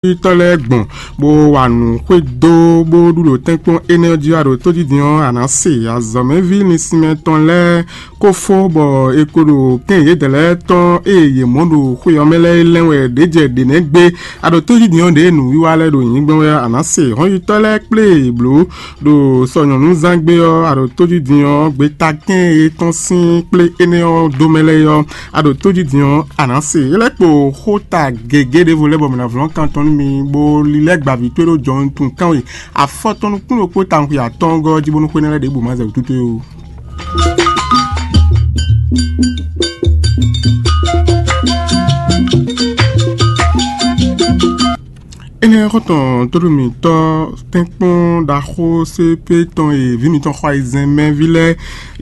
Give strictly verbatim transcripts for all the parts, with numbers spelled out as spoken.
tɔ́ lɛ́ɛ gbɔn, bó wa nǔ xwedó, bó ɖu ɖo tɛ́nkpɔ́n énɛ́ ɔ́ jí wá ɖo tójídin ɔ́, a nǎ se azɔ̌mɛví linsinmɛ tɔn lɛ́ɛ kó fó, bɔ è ko ɖo kɛ́n yědɛɛ lɛ́ɛ tɔn e yě mɔ ɖo xwe ɔ́ mɛ lɛ́ɛ lɛ́n wɛ ɖě jɛ ɖě nɛ́ gbé. A ɖo tójídin ɔ́ ɖě nǔwiwa lɛ́ɛ ɖo nyǐgbɔn wɛ, a nǎ se hɔnjítɔ́ lɛ́ɛ kplé yě bló ɖo sɔ nyɔ̌nuzángbe ɔ́, a ɖo tójídin ɔ́, gbeta kɛ́n e tɔ́n sín kplé énɛ́ ɔ́ dó mɛ lɛ́ɛ ɔ́, a ɖo tójídin ɔ́, a nǎ se. É lɛ́ kpo xóta gěgé ɖěvo lɛ́ɛ bɔ mǐ ná vlɔ́n kan tɔn nú mi, bó lílɛ́ gbǎví towe ɖó jɔhɔn tun kánwe afɔtɔn nukún ɖokpó tawun xwe atɔ́ɔ́ngɔ́ ɔ́ jí, bónú xwé énɛ́ lɛ́ɛ ɖěbǔ ma zɛ wǔtu towe ó. Énɛ́ xɔ́ntɔn tóɖó mǐtɔn tɛ́nkpɔ́n ɖaxó C P tɔn e vǐ mǐtɔn xɔ ayizɛ́n mɛ ví lɛ́ɛ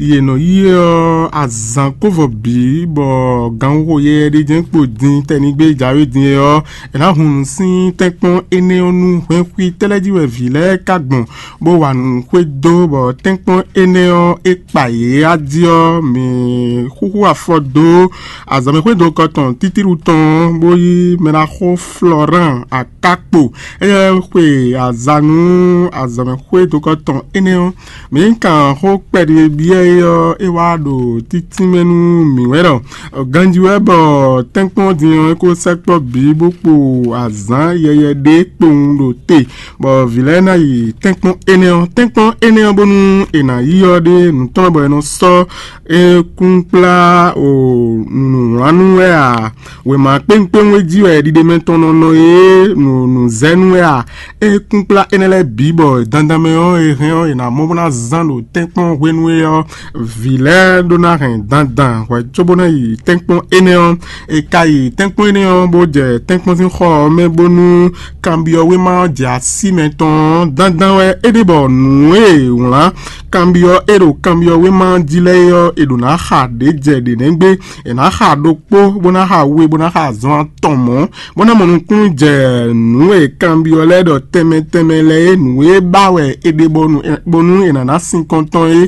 yě nɔ yí é ɔ́, azǎn kó vɔ bǐ, bɔ gǎnxoxo yɛyɛ ɖé jɛ́n kpo din tɛnigbe jǎwe din é ɔ́, è nǎ hun nǔ sín tɛ́nkpɔ́n énɛ́ ɔ́ nú hwɛ́nxwí tɛ́ lɛ́ɛ jí wɛ vǐ lɛ́ɛ ka gbɔn, bó wa nǔ xwedó, bɔ tɛ́nkpɔ́n énɛ́ ɔ́, é kpa yě á jí ɔ́, mǐ xúxú afɔ dó azɔ̌mɛxwé dokɔ tɔn títíɖu tɔn, bó yí mɛɖaxó Florent Akakpo. Éyɛ́ xwe aza nú azɔ̌mɛxwé dokɔ tɔn énɛ́ ɔ́, mǐ kan xó kpɛɖé byɔ́ é ɔ́, é wá ɖo títínmɛ nú mǐ wɛ ɖɔ ganjí wɛ bɔ tɛ́nkpɔ́n din ɔ́, é ko sɛkpɔ́ bǐ bó kpo azǎn yɛyɛ ɖé kpowun ɖo te, bɔ vǐ lɛ́ɛ ná yi tɛ́nkpɔ́n énɛ́ ɔ́. Tɛ́nkpɔ́n énɛ́ ɔ́, bónú è nǎ yí ɔ́ ɖé nǔ tɔn bɔ è nɔ sɔ́ é kún kplá o nǔwlánú wɛ a? Wěma kpéwúnkpéwún e jí wɛ ɖiɖe mɛ tɔn nɔ nɔ é nǔ nǔzɛ́nú wɛ a? É kún kplá énɛ́ lɛ́ɛ bǐ bɔ dandan mɛ ɔ́, è hɛn ɔ́, è nǎ mɔ bó ná zán ɖo tɛ́nkpɔ́n hwenu é ɔ́, vǐ lɛ́ɛ ɖó ná hɛn dandan hwɛ cóbó ná yi tɛ́nkpɔ́n énɛ́ ɔ́. È ka yi tɛ́nkpɔ́n énɛ́ ɔ́, bó jɛ tɛ́nkpɔ́n sín xɔ ɔ́ mɛ, bónú kanbyɔ́wéma ɔ́ jɛ así mɛ tɔn ɔ́, dandan wɛ é ɖe bɔ nǔ e è wlǎn kanbyɔ́ é ɖo kanbyɔ́wéma ɔ́ jí lɛ́ɛ é ɔ́, è ɖǒ ná xa ɖě jɛ ɖě nɛ́ gbé. È nǎ xa ɖokpó, bó ná xa we, bó ná xa azɔn atɔn mɔ̌, bó ná mɔ nukúnnú jɛ nǔ e kanbyɔ́ lɛ́ɛ ɖɔ tɛnmɛ tɛnmɛ lɛ́ɛ é, nǔ e ba wɛ è ɖe bɔnu bónú è nǎ ná sinkɔn tɔn é.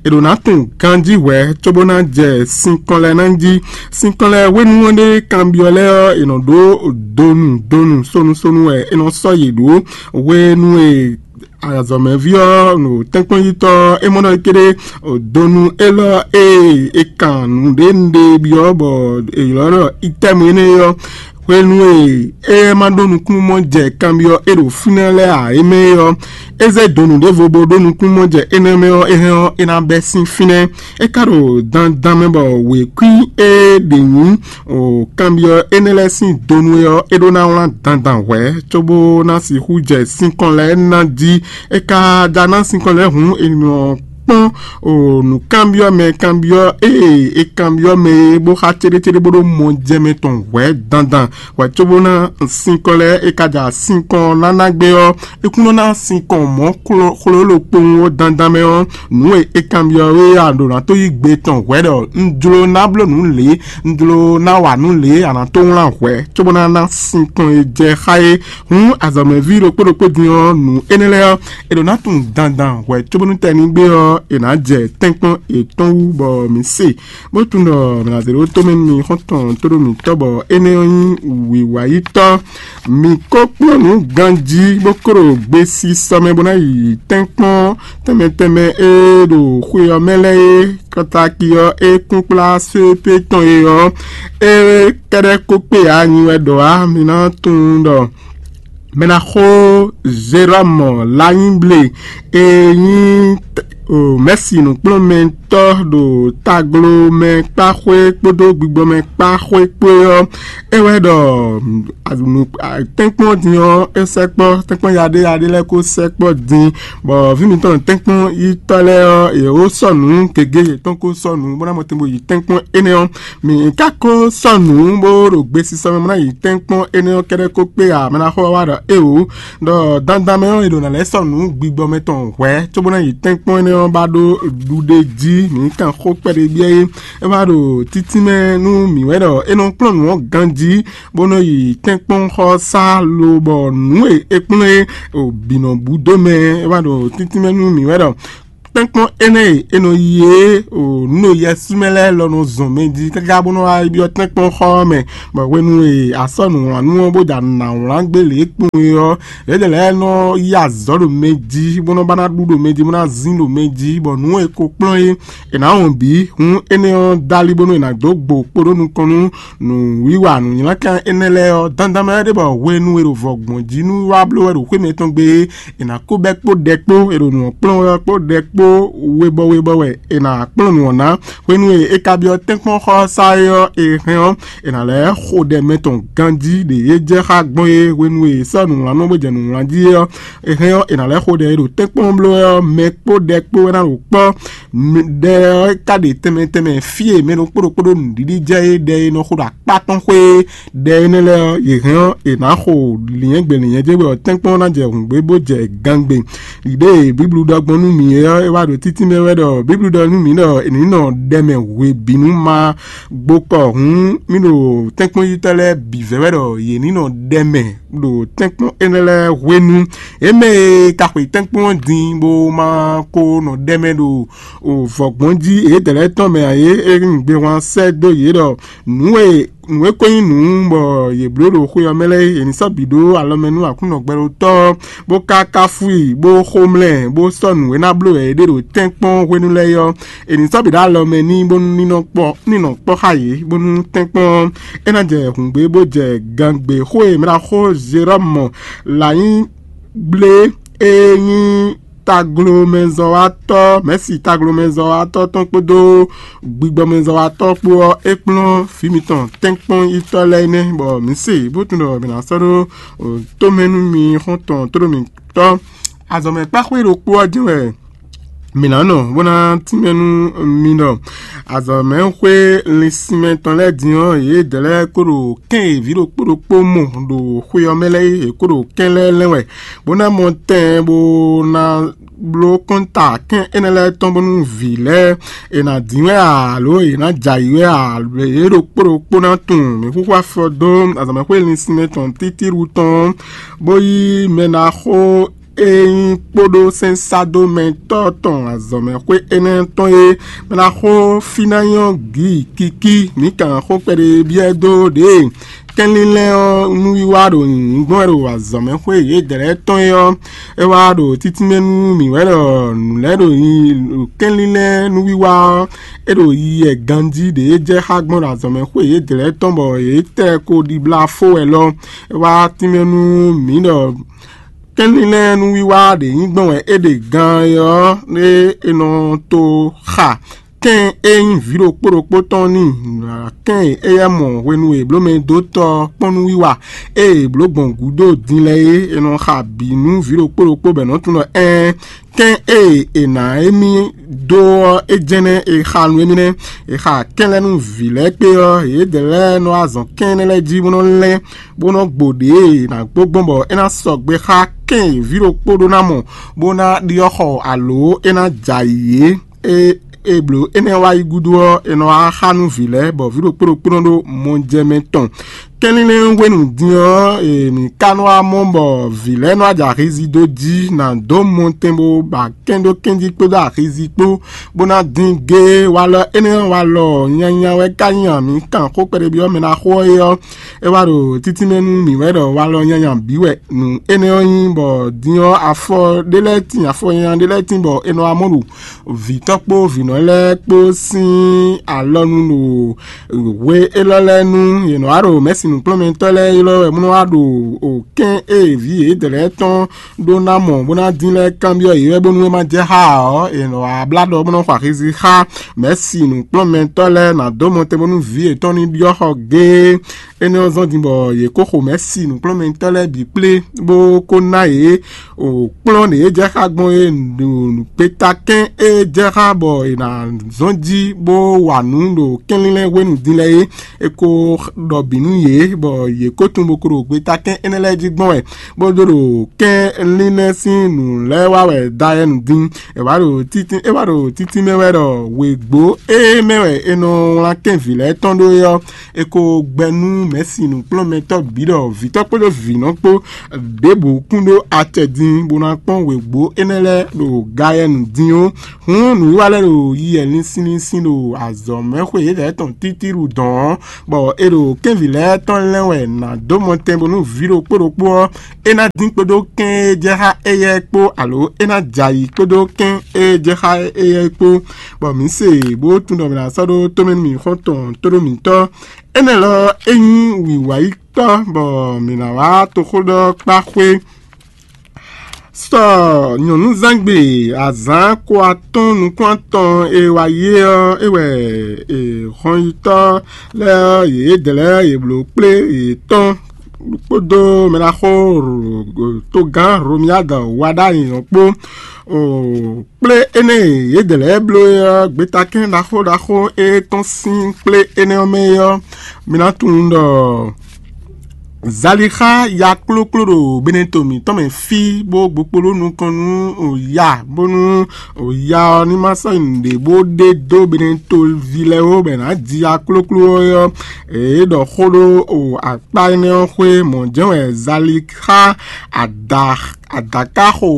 È ɖǒ ná tunwun ganjí hwɛ̌ cóbó ná jɛ sinkɔn lɛ́ɛ ná jí. Sinkɔn lɛ́ɛ hwenu ɔ́ ɖé kanbyɔ́ lɛ́ɛ ɔ́, è nɔ ɖó donu donu sonu sonu wɛ è nɔ sɔ́ yě ɖó hwenu e azɔ̌mɛví ɔ́, ɖo tɛ́nkpɔ́nyítɔ́ ɔ́, é mɔ ɖɔ é kéré donu élɔ́ e è kan nǔɖé nǔɖé byɔ́ bɔ è ylɔ́ ɖɔ itɛ́mu énɛ́ ɔ́, hwenu e é ma ɖó nukúnnú mɔ jɛ kanbyɔ́ é ɖo fínɛ́ lɛ́ɛ ǎ é mɛ é ɔ́, é zé donu ɖěvo bó ɖó nukúnnú mɔ jɛ énɛ́ mɛ ɔ́, é hɛn ɔ́, é ná bɛ́ sín fínɛ́. É ka ɖo dandan mɛ bɔ wěkwín e ɖe nyǐ o kanbyɔ́ énɛ́ lɛ́ɛ sín donu é ɔ́, é ɖó ná wlán dandan hwɛ̌ cóbó ná sixú jɛ sinkɔn lɛ́ɛ ná jí. É ka ja ná sinkɔn lɛ́ɛ hǔn è nɔ kpɔ́n o nǔkanbyɔ́ mɛ kanbyɔ́ e è kanbyɔ́ mɛ é bó xá céɖécéɖé bó ɖó mɔjɛmɛ tɔn hwɛ̌ dandan hwɛ̌ cóbó ná sinkɔn lɛ́ɛ. É ka ja sinkɔn ná ná gbé ɔ́, é kún nɔ ná sinkɔn mɔ̌ xló- xlólo kpowun ó dandan mɛ ɔ́, nǔ e é kanbyɔ́ é a ɖǒ ná tó yí gbe tɔn hwɛ̌ ɖɔ un jló ná bló nǔ lě, un jló ná wa nǔ lě, a nǎ tó wlán hwɛ̌ cóbó ná ná sinkɔn e jɛ xá é. Hǔn azɔ̌mɛví ɖokpó ɖokpó din ɔ́, nǔ énɛ́ lɛ́ɛ ɔ́, è ɖǒ ná tunwun dandan hwɛ̌ cóbónú tɛnígbe ɔ́, è nǎ jɛ tɛ́nkpɔ́n yětɔn wú bɔ mǐ se, bó tunwun ɖɔ mǐ ná zé ɖó tomɛ nú mi xɔ́ntɔn tóɖó mǐtɔn bɔ énɛ́ ɔ́ nyí wǐwáyítɔ́. Mǐ ko kplɔ́n nǔ ganjí bó kó ɖo gbesisɔ mɛ bó ná yi tɛ́nkpɔ́n tɛnmɛ tɛnmɛ e ɖo xwe ɔ́ mɛ lɛ́ɛ é. Kɔ́táki ɔ́, é kún kplá sépé tɔn e ɔ́, é kɛ́ɖɛ́ kó kpé ǎ, nyi wɛ ɖɔ ǎ. Mi ná tunwun ɖɔ mɛ ná xó Zerɔ́mɔ Lanyíble e nyí mɛ̌si nǔkplɔ́nmɛtɔ́ ɖo taglomɛ kpáxwé kpódó gbigbɔmɛ kpáxwé kpó é ɔ́, é wɛ ɖɔ tɛ́nkpɔ́n din ɔ́, é sɛkpɔ́ tɛ́nkpɔ́n yaɖéyaɖé lɛ́ɛ kó sɛkpɔ́ din, bɔ vǐ mǐtɔn tɛ́nkpɔ́n yítɔ́ lɛ́ɛ ɔ́, yě wó sɔ́ nǔ gěgé yětɔn kó sɔ́ nǔ bó ná mɔ tɛn bó yi tɛ́nkpɔ́n énɛ́ ɔ́. Mǐ ka ko sɔ́ nǔ bó ɖo gbesisɔ mɛ bó ná yi tɛ́nkpɔ́n énɛ́ ɔ́ kɛ́ɖɛ́ kó kpé ǎ, mɛ ná xɔ wá ɖɔ éeǒ, ɖɔ dandan mɛ ɔ́, è ɖǒ ná lɛ́ sɔ́ nǔ gbigbɔ mɛ tɔn hwɛ̌ cóbó ná yi tɛ́nkpɔ́n énɛ́ ɔ́ ba ɖó ɖuɖe jí. Mǐ kan xó kpɛɖé byɔ́ é, é wá ɖo títínmɛ nú mǐ wɛ ɖɔ é nɔ kplɔ́n nǔ ɔ́ ganjí, bó nɔ yi tɛ́nkpɔ́nxɔsá lobɔ nǔ e é kplɔ́n é bǐ nɔ bú dó mɛ. É wá ɖo títínmɛ nú mǐ wɛ ɖɔ Tɛ́nkpɔ́n énɛ́ e è nɔ yi é o nǔ ɖo yɛsúmɛ lɛ́ɛ lɔ nɔ zɔn mɛ jí káká bó nɔ́ wá byɔ́ tɛ́nkpɔ́n xɔ ɔ́ mɛ, bɔ hwenu e a sɔ́ nǔwlánú ɔ́ bó ja nǎ wlán gbé lě kpɔn é ɔ́, yědɛɛ lɛ́ɛ nɔ yí azɔ̌ ɖo mɛ jí bó nɔ́ ba ná ɖu ɖo mɛ jí bó ná zín ɖo mɛ jí, bɔ nǔ e ko kplɔ́n é è nǎ wɔn bǐ. Hǔn énɛ́ ɔ́ dó ali bónú è nǎ dó gbo kpo ɖó nukɔn nú nǔwiwa nǔnylánkan énɛ́ lɛ́ɛ ɔ́, dandan mɛ wɛ ɖe bɔ hwenu e ɖo vɔ̌gbɔn jí nú wá bló wɛ ɖo xwé mɛtɔn gbe é, è nǎ kó bɛ́ kpó ɖɛ kpó, è ɖo nǔ ɔ́ kplɔ́n wɛ ɔ́ kpó ɖɛ kpó webɔ webɔ wɛ è nǎ kplɔ́n nǔ ɔ́ ná. Hwenu e è ka byɔ́ tɛ́nkpɔ́n xɔ ɔ́ sá é ɔ́, è hɛn ɔ́, è nǎ lɛ́ xo ɖɛ mɛ tɔn ganjí ɖě é jɛ xá gbɔn é. Hwenu e è sɔ́ nǔwlánú bó jɛ nǔwlán jí é ɔ́, è hɛn ɔ́, è nǎ lɛ́ xo ɖɛ e ɖo tɛ́nkpɔ́n bló wɛ ɔ́ mɛ kpó ɖɛ kpó wɛ ná ɖo kpɔ́. Ɖɛ ɔ́ ka ɖe tɛnmɛ tɛnmɛ fí e mɛ ɖokpó ɖokpó ɖo nǔɖiɖi jɛ é ɖɛ e nɔ xo ɖo akpá tɔn xwé é. Ɖɛ énɛ́ lɛ́ɛ ɔ́, yě hɛn ɔ́, è nǎ xo lǐnyɛ́gbe lǐnyɛ́jɛ́gbe ɔ́ tɛ́nkpɔ́n ná jɛ hǔngbé bó jɛ gangbe. Ɖě e Bíblu ɖɔ gbɔn nú mǐ é ɔ́, é wá ɖo títí mɛ wɛ ɖɔ Bíblu ɖɔ nú mǐ ɖɔ è ní nɔ ɖɛ mɛ hwebǐnu ma gbokɔ hǔn mì ɖo tɛ́nkpɔ́nyítɔ́ lɛ́ɛ bǐ vɛ́ wɛ ɖɔ yě ní nɔ ɖɛ mɛ ɖo tɛ́nkpɔ́n énɛ́ lɛ́ɛ hwenu. É mɛ e ka xwe tɛ́nkpɔ́n ɔ́ din bó ma ko nɔ ɖɛ mɛ ɖo vɔ̌gbɔn jí yědɛɛ lɛ́ɛ tɔn mɛ ǎ é, é nyí gbehwan sɛ́ dó yě ɖɔ nǔ e nǔ e ko nyí nǔ bɔ yě bló ɖo xwe ɔ́ mɛ lɛ́ɛ é, è ní sɔ́ bǐ ɖó alɔ mɛ nú Aklúnɔ gbɛɖótɔ́ ɔ́, bó ka káfú i, bó xomlɛ, bó sɔ́ nǔ e ná bló wɛ é ɖe ɖo tɛ́nkpɔ́n hwenu lɛ́ɛ é ɔ́, è nǐ sɔ́ bǐ ɖó alɔ mɛ n'i bónú ní nɔ kpɔ́ ní nɔ kpɔ́ xá yě, bónú tɛ́nkpɔ́n ɔ́, é ná jɛ hǔngbé bó jɛ gangbe. Xó e mɛ ɖo xó Jerɔ́mu lǎnyí gblé e nyí taglomɛzɔ́watɔ́, mɛ̌si taglomɛzɔ́watɔ́ tɔn kpódó gbigbɔmɛzɔ́watɔ́ kpó ɔ́, é kplɔ́n vǐ mitɔn tɛ́nkpɔ́n yítɔ́ lɛ́ɛ nɛ́, bɔ mǐ se bó tunwun ɖɔ mǐ ná sɔ́ ɖó tomɛ nú mi xɔ́ntɔn tóɖó mǐtɔn. Azɔ̌mɛkpáxwé ɖokpó ɔ́ jɛ́n wɛ mǐ ná nɔ bó ná tínmɛ nú mi ɖɔ azɔ̌mɛxwé linsinmɛ tɔn lɛ́ɛ din ɔ́, yědɛɛ lɛ́ɛ kó ɖo kɛ́n e vǐ ɖokpó ɖokpó mɔ ɖo xwe ɔ́ mɛ lɛ́ɛ é, yě kó ɖo kɛ́n lɛ́ɛ lɛ́n wɛ, bó ná mɔ tɛn bó ná bló kɔ́nta kɛ́n énɛ́ lɛ́ɛ tɔn bónú vǐ lɛ́ɛ è nǎ dín wɛ ǎ, alo è nǎ jɛ ayǐ wɛ ǎ, yě ɖokpó ɖokpó ná tunwun. Mǐ xúxú afɔ dó azɔ̌mɛxwé linsinmɛ tɔn títíɖu tɔn, bó yí mɛ ná xó e nyí kpódó sɛ́nsádomɛtɔ́ tɔn azɔ̌mɛxwé énɛ́ tɔn e mɛ ná xó fí ná nyɔ́ gǐ kikí. Mǐ kan xó kpɛɖé byɔ́ dó ɖě kɛnlínlɛ́n ɔ́ nú wiwa ɖo nyǐnyí gbɔn wɛ ɖo azɔ̌mɛxwé yědɛɛ lɛ́ɛ tɔn é ɔ́, é wá ɖo títínmɛ nú mǐ wɛ ɖɔ nǔ lɛ́ɛ ɖo nyi ɖo kɛnlínlɛ́n nú wiwa ɔ́, é ɖo yiyi wɛ ganjí ɖě é jɛ xá gbɔn ɖo azɔ̌mɛxwé yědɛɛ lɛ́ɛ tɔn bɔ yě tɛ ko ɖibla fó wɛ lɔ. É wá tínmɛ nú mǐ ɖɔ kɛnlínlɛ́n nú wiwa ɖě nyí gbɔn wɛ é ɖe gan é ɔ́, é è nɔ to xa kɛ́n e nyí vǐ ɖokpó ɖokpó tɔn n'i, kɛ́n e éyɛ́ mɔ hwenu e blǒ mɛ dó tɔ kpɔ́n nú wiwa e è blǒ gbɔn gǔdo din lɛ́ɛ é, è nɔ xa bǐ nú vǐ ɖokpó ɖokpó bɔ è nɔ́ tunwun ɖɔ ɛɛn, kɛ́n e è nǎ émí dó ɔ́, é jɛ́n nɛ́ è xa nú émí nɛ́. È xa kɛ́n lɛ́ɛ nú vǐ lɛ́ɛ kpé ɔ́, yědɛɛ lɛ́ɛ nɔ wá zɔn kɛ́n énɛ́ lɛ́ɛ jí bó nɔ́ lɛ́n, bó nɔ́ gbo ɖě e è nǎ gbó gbɔn bɔ é ná sɔgbe xá kɛ́n e vǐ ɖokpó ɖó ná mɔ, bó ná ɖyɔ́ xɔ alǒ é ná jɛ ayǐ é. E e blǒ énɛ́ wá yi gúdo ɔ́, è nɔ wá xá nú vǐ lɛ́ɛ, bɔ vǐ ɖokpó ɖokpó nɔ ɖó mɔjɛmɛ tɔn. Kɛnlínlɛ́n hwenu din ɔ́, è nǐ ka nɔ wá mɔ bɔ vǐ lɛ́ɛ nɔ wá jɛ axizi dó jí, nǎ dó mɔtɛn bó ba kɛ́n ɖó kɛ́n jí kpódó axizi kpó, bó ná dín géé. Walɔ énɛ́ walɔ nyanya wɛ ka nyí amǐ kan xó kpɛɖé byɔ́ mɛ ná xo ɔ́ é ɔ́, é wá ɖo títínmɛ nú mǐ wɛ ɖɔ walɔ nyanya bǐ wɛ nǔ énɛ́ ɔ́ nyí, bɔ din ɔ́ afɔ ɖé lɛ́ɛ tíin, afɔ nyanya ɖé lɛ́ɛ tíin, bɔ è nɔ wá mɔ ɖo vǐtɔ́ kpó vǐnɔ lɛ́ɛ kpó sín alɔnu ɖo hwe élɔ́ lɛ́ɛ nu. Yě nɔ wá ɖo mɛ̌si nǔkplɔ́nmɛtɔ́ lɛ́ɛ ylɔ́ wɛ bó nɔ wá ɖo kɛ́n e vǐ yědɛɛ lɛ́ɛ tɔn ɖó ná mɔ bó ná dín lɛ́ɛ kanbyɔ́ yě wɛ bónú é má jɛ xá ǎ ɔ́, è nɔ wá blá ɖɔ bó nɔ́ xɔ axi xá mɛ̌si nǔkplɔ́nmɛtɔ́ lɛ́ɛ ná dó mɔtɛn bónú vǐ yětɔn ní ɖyɔ́ xɔ géé. Énɛ́ ɔ́ zɔ́n din bɔ yě kó xo mɛ̌si nǔkplɔ́nmɛtɔ́ lɛ́ɛ bǐ kplé, bó kó ná yě o kplɔ́n ɖě e jɛ xá gbɔn é ɖo gbétakɛ́n e jɛ xá bɔ è nǎ zɔ́n jí bó wa nǔ ɖo kɛnlínlɛ́n hwenu din lɛ́ɛ é. È ko ɖɔ bǐ nú yě, bɔ yě ko tunwun bó ko ɖo gbétakɛ́n énɛ́ lɛ́ɛ jí gbɔn wɛ, bó ɖó ɖo kɛnlínlɛ́n sín nǔ lɛ́ɛ wa wɛ dayɛnu dín. È wá ɖo títí é wá ɖo títí mɛ wɛ ɖɔ wěgbó e mɛ wɛ è nɔ wlán kɛ́nvǐ lɛ́ɛ tɔn ɖó é ɔ́, è ko gbɛ nú mɛ̌si nǔkplɔ́nmɛtɔ́ bǐ ɖɔ vǐtɔ́ kpódó vǐnɔ kpó ɖěbǔ kún ɖó acɛ din bó ná kpɔ́n wěgbó énɛ́ lɛ́ɛ ɖo gayɛnu din ó. Hǔn nǔwiwa lɛ́ɛ ɖo yiyɛ linsin linsin ɖo azɔ̌mɛxwé yědɛɛ tɔn títíɖu dɔ̌n ɔ́, bɔ è ɖo kɛ́nvǐ lɛ́ɛ tɔn lɛ́n wɛ nǎ dó mɔtɛn bónú vǐ ɖokpó ɖokpó ɔ́, é ná dín kpódó kɛ́n e jɛ xá éyɛ́ kpó, alo é ná jɛ ayǐ kpódó kɛ́n e jɛ xá éyɛ́ kpó, bɔ mǐ se bó tunwun ɖɔ mǐ ná sɔ́ ɖó tómɛ nú mǐ xɔ́ntɔn tóɖó mǐtɔn. Énɛ́ lɔ é nyí wǐwáyítɔ́, bɔ mǐ ná wá toxóɖɔkpáxwé. Sɔ nyɔ̌núzángbe azǎn ko atɔ́ɔ́n nukún atɔn e wá yé ɔ́, é wɛ hɔnyitɔ́ lɛ́ɛ ɔ́, yědɛɛ lɛ́ɛ yě bló kplé yětɔn kpódó mɛɖaxó togán Romiyáda wá ɖ'ayǐ ɔ́ kpó. Kplé énɛ́ e yědɛɛ lɛ́ɛ bló é ɔ́, gbetakɛ́n ɖaxó ɖaxó e tɔ́n sín kplé énɛ́ ɔ́ mɛ é ɔ́, mi ná tunwun ɖɔ Zalixa ya klókló ɖo Beneto mǐtɔn mɛ fí, bó gbokpóɖó nukɔn nú ya, bónú ya ɔ́ ní ma sɔ́ nyi nǔɖé bó ɖe dó Beneto ví lɛ́ɛ ó, bɔ è nǎ ji ya klókló ɔ́. Yě ɖɔ xó ɖó akpá énɛ́ ɔ́ xwé. Mɔ̌ jɛ́n wɛ Zalixa ada adakaxo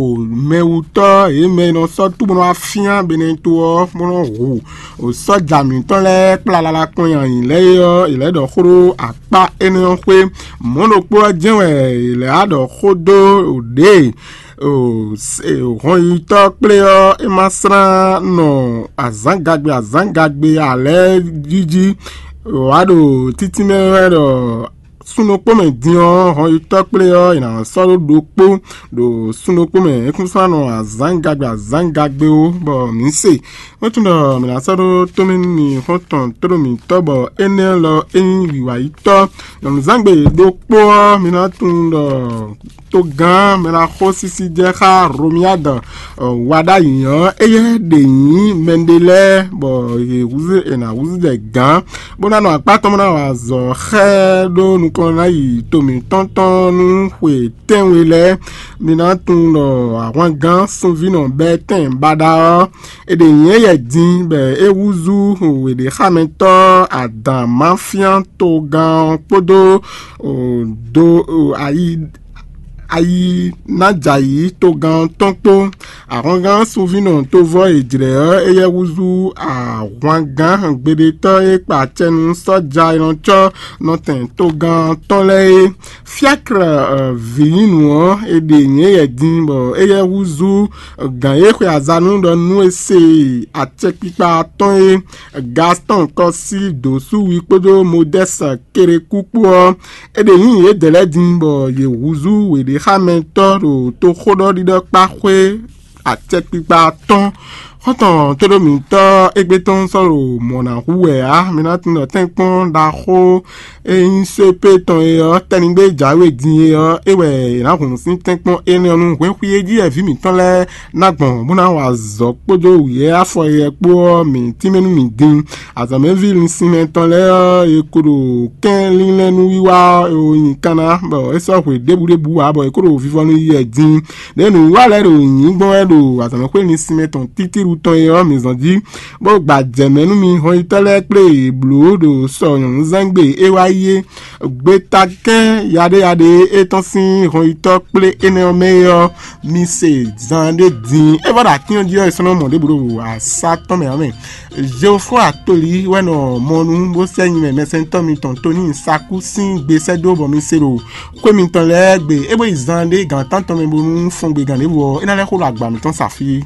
mɛwutɔ́ yě mɛ e nɔ sɔ́ tú bó nɔ wá fyán Beneto ɔ́, bó nɔ hu sɔ́ja mǐtɔn lɛ́ɛ kplá lala kpɔn nyi ayǐ lɛ́ɛ é ɔ́, è lɛ̌ ɖɔ xó ɖó akpá énɛ́ ɔ́ xwé. Mɔ̌ ɖokpó ɔ́ jɛ́n wɛ è lɛ̌ wá ɖɔ xó dó ɖě hɔnyitɔ́ kplé ɔ́, é ma slán nɔ azǎngagbe azǎngagbe ǎ lɛ́ɛ jí jí wǎ ɖo títínmɛ wɛ ɖɔ sun ɖokpó mɛ din ɔ́, hɔnyitɔ́ kplé ɔ́, è nǎ sɔ́ ɖó ɖokpó ɖo sun ɖokpó mɛ. É kún sɔ́ nɔ azǎngagbe azǎngagbe ó, bɔ mǐ se. É tunwun ɖɔ mǐ ná sɔ́ ɖó tómɛ nú mi xɔ́ntɔn tóɖó mǐtɔn, bɔ énɛ́ lɔ é nyí wǐwáyítɔ́. Nyɔ̌nuzangbe ɖokpó ɔ́, mi ná tunwun ɖɔ togán mɛ ná xó sísí jɛ xá Romiyáda wá ɖ'ayǐ ɔ́, éyɛ́ ɖě nyí mɛɖé lɛ́ɛ, bɔ yě húzú è nǎ húzú jɛ gǎn, bó ná nɔ akpá tɔn bó ná wa azɔ̌ xá ɛ ɖó nukɔn ná yi to mǐtɔn tɔn nú xwe tɛ́nwe lɛ́ɛ. Mi ná tunwun ɖɔ ahwangán sunví nɔ bɛ́ tɛn baɖa ɔ́, è ɖe nyɛ̌yɛ din bɔ é húzú wěɖéxámɛtɔ́ adǎn máfyán togán ɔ́ kpódó do ayi ayi ná jɛ ayǐ togán ɔ́ tɔn kpó. Ahwangán sunvínɔ tovɔ́ e jlɛ̌ ɔ́, éyɛ́ húzú ahwangán gbeɖetɔ́ e kpa acɛ nú sɔ́ja e nɔ cɔ́ nɔtɛn togán ɔ́ tɔn lɛ́ɛ é. Fiáklɛ vǐnyínu ɔ́, è ɖe nyɛ̌yɛ din bɔ éyɛ́ húzú gǎn e xwe azanu ɖɔ nú è se acɛkpikpa atɔ́ɔ́n é, Gastɔ́n Kɔ́sí Dǒsúwi kpódó Modɛ́si Kelekú kpó ɔ́, è ɖe nyǐ yědɛɛ lɛ́ɛ din bɔ yě húzú wěɖéxámɛtɔ́ ɖo toxóɖɔɖiɖɔkpáxwé acɛkpikpa atɔ́ɔ́n. Xɔ́ntɔn tóɖómǐtɔ́ égbé tɔn sɔ́ ɖo mɔ̌ ná hu wɛ ǎ. Mi ná tunwun ɖɔ tɛ́nkpɔ́n ɖaxó e nyí sépé tɔn é ɔ́, tɛ́nigbe jǎwe din é ɔ́, é wɛ è nǎ hun nǔ sín tɛ́nkpɔ́n énɛ́ ɔ́ nú hwɛ́nxwí e jí wɛ vǐ mǐtɔn lɛ́ɛ ná gbɔn bó ná wa azɔ̌ kpódó wǔyɛ́ afɔ yɛ kpó ɔ́, mǐ tínmɛ nú mǐ din. Azɔ̌mɛví linsinmɛ tɔn lɛ́ɛ ɔ́, è ko ɖo kɛ́n línlɛ́n nú wiwa ɔ́, è wo nyi kanna, bɔ é sɔ́ hwe ɖěbǔ ɖěbǔ ǎ, bɔ è ko ɖo vivɔnu yi wɛ din. Ɖě nǔwiwa lɛ́ɛ ɖo nyǐ gbɔn wɛ ɖo azɔ̌mɛxwé linsinmɛ tɔn títíɖu tɔn é ɔ́, mǐ zɔn jí, bó gba jɛ mɛ nú mi hɔnyitɔ́ lɛ́ɛ kplé yě bló ɖo sɔ nyɔ̌nuzangbe e wá yi é. Gbetakɛ́n yaɖéyaɖé e tɔ́n sín hɔnyitɔ́ kplé énɛ́ ɔ́ mɛ é ɔ́, mi se zan ɖé din. É vɔ ɖo atín ɔ́ jí ɔ́, è sɔ́ nɔ mɔ ɖěbǔ ɖo asá tɔn mɛ ǎ mɛ. Jeofɔ Atoli wɛ nɔ mɔ nú bó sɛ́ nyi mɛ mɛsɛntɔ́ mitɔn Toni Saku sín gbe sɛ́ dó bɔ mi se ɖo xwé mitɔn lɛ́ɛ gbe. É bó yi zan ɖé gǎn tántɔn mɛ bónú fɔngbe gǎn ɖěvo ɔ́, é ná lɛ́ xo ɖo agba mǐtɔn sa fí.